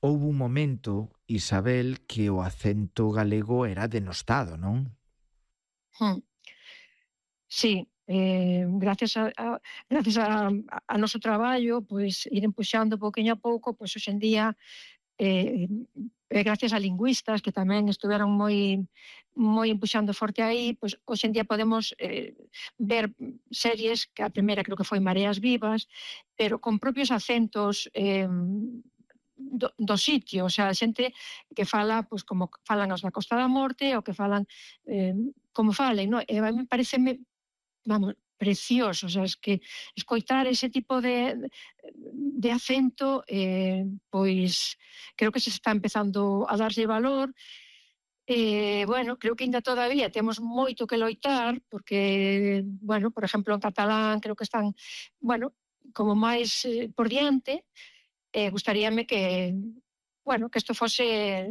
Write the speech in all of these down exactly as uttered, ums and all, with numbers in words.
Houbo un momento, Isabel, que o acento galego era denostado, non? Mm. Sí, eh, gracias a a gracias a a noso traballo, pois iren puxando pouquiño a pouco, pois hoxe en día, eh, e gracias a lingüistas que tamén estiveron moi moi empuxando forte aí, pois hoxe en día podemos, eh, ver series que a primeira creo que foi Mareas Vivas, pero con propios acentos, eh, do do sitio, o sea, xente que fala, pois como falan os da Costa da Morte ou que falan, eh, como falen, non? E a min paréceme, vamos, precioso, o sea, es que escoitar ese tipo de de acento, eh, pois creo que se está empezando a darlle valor. Eh, bueno, creo que aínda todavía temos moito que loitar, porque, bueno, por exemplo, en catalán creo que están, bueno, como máis, eh, por diante, e gustaríame que, bueno, que isto fose,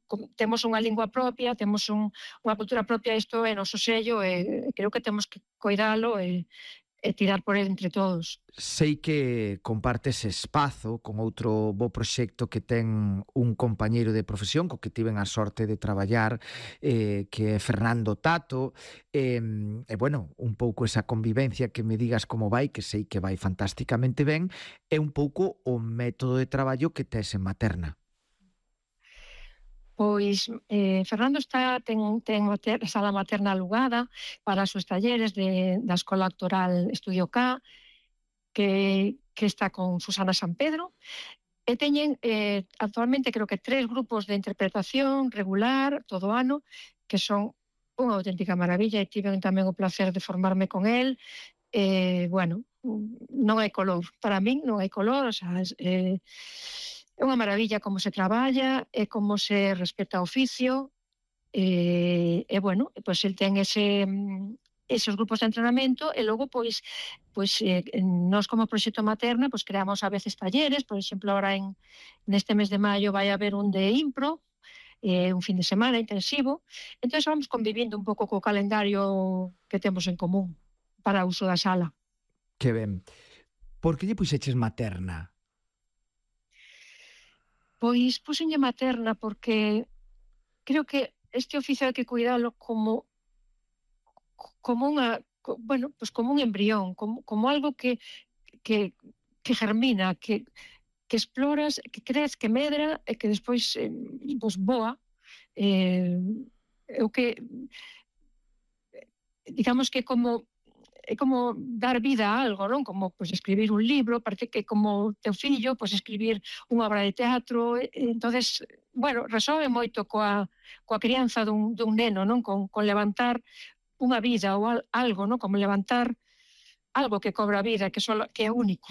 com temos unha lingua propia, temos un unha cultura propia, isto é noso sello e creo que temos que coidalo e e tirar por el entre todos. Sei que compartes espazo con outro bo proxecto que ten un compañeiro de profesión co que tiven a sorte de traballar, eh, que é Fernando Tato, e, e bueno, un pouco esa convivencia, que me digas como vai, que sei que vai fantásticamente ben, é un pouco o método de traballo que tes en Materna. Pois, eh, Fernando está ten ten mater sala materna alugada para os seus talleres de da Escola Actoral Estudio K, que que está con Susana Sampedro, e teñen, eh, actualmente creo que tres grupos de interpretación regular todo o ano, que son unha auténtica maravilla e tiven tamén o placer de formarme con el. Eh, bueno, non hai color, para min non hai color, o sea, es, eh, é unha maravilla como se traballa e como se respeta o oficio, e, e bueno, pois el ten ese mm, esos grupos de entrenamento e logo pois pois eh, nós como proxecto Materna pois creamos a veces talleres, por exemplo, agora en neste mes de maio vai haber un de impro, eh, un fin de semana intensivo, entonces vamos convivindo un pouco co calendario que temos en común para uso da sala. Que ben. Por que lle puxeches Materna? Pois púxenlle Materna porque creo que este oficio hai que cuidalo como como unha co bueno, pois como un embrión, como como algo que que que germina, que que exploras, que crece, que medra e que despois, eh, pois boa. Eh, é o que digamos que como é como dar vida a algo, non? Como, pois, escribir un libro, parece que como teu fillo, pois, escribir unha obra de teatro, e entonces, bueno, resoe moito coa coa crianza dun dun neno, non? Con con levantar unha vida ou al algo, non? Como levantar algo que cobra vida, que só que é único.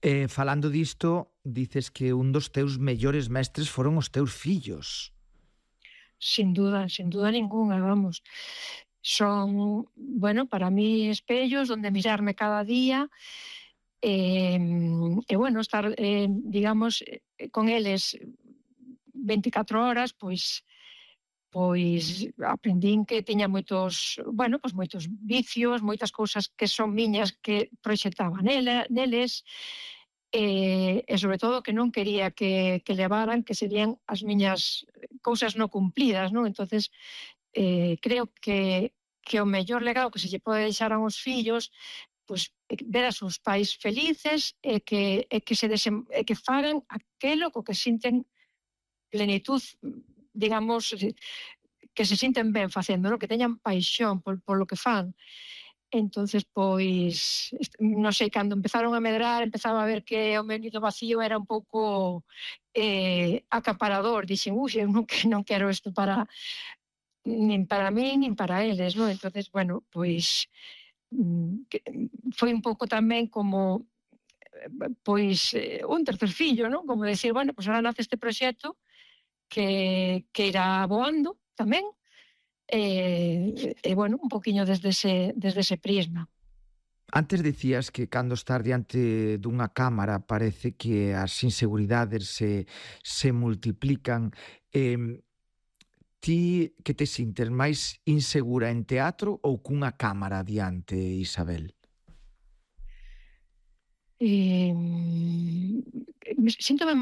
E falando disto, dices que un dos teus mellores mestres foron os teus fillos. Sin duda, sin duda ningunha, vamos. Son, bueno, para mí espellos donde mirarme cada día, em, e bueno, estar, eh, digamos, eh, con eles veinticatro horas, pois pois aprendín que tiña moitos, bueno, pois moitos vicios, moitas cousas que son miñas que proxectaba nela neles, e e sobre todo que non quería que que levaran, que serían as miñas cousas non cumplidas, non? Entonces, eh, creo que que o mellor legado que se lle pode deixar aos fillos, pois, é que ver a seus pais felices e que e que se desen e que fagan aquelo co que sinten plenitud, digamos, eh, que se sinten ben facendo, non? Que teñan paixón por polo que fan. Entonces, pois, est non sei, cando empezaron a medrar, empezaba a ver que o meu nido vacío era un pouco, eh, acaparador. Dixen: "Ui, eu non que non quero isto para nin para min nin para eles", non? Entonces, bueno, pois, mm, que foi un pouco tamén como, eh, pois, eh, un tercer fillo, non? Como decir, bueno, pois ahora nace este proxecto que que irá voando tamén, e e bueno, un poquiño desde ese desde ese prisma. Antes dicías que cando estás diante dunha cámara parece que as inseguridades se, se multiplican. Eh, ti que te sintes máis insegura en teatro ou cunha cámara diante, Isabel? Em, síntome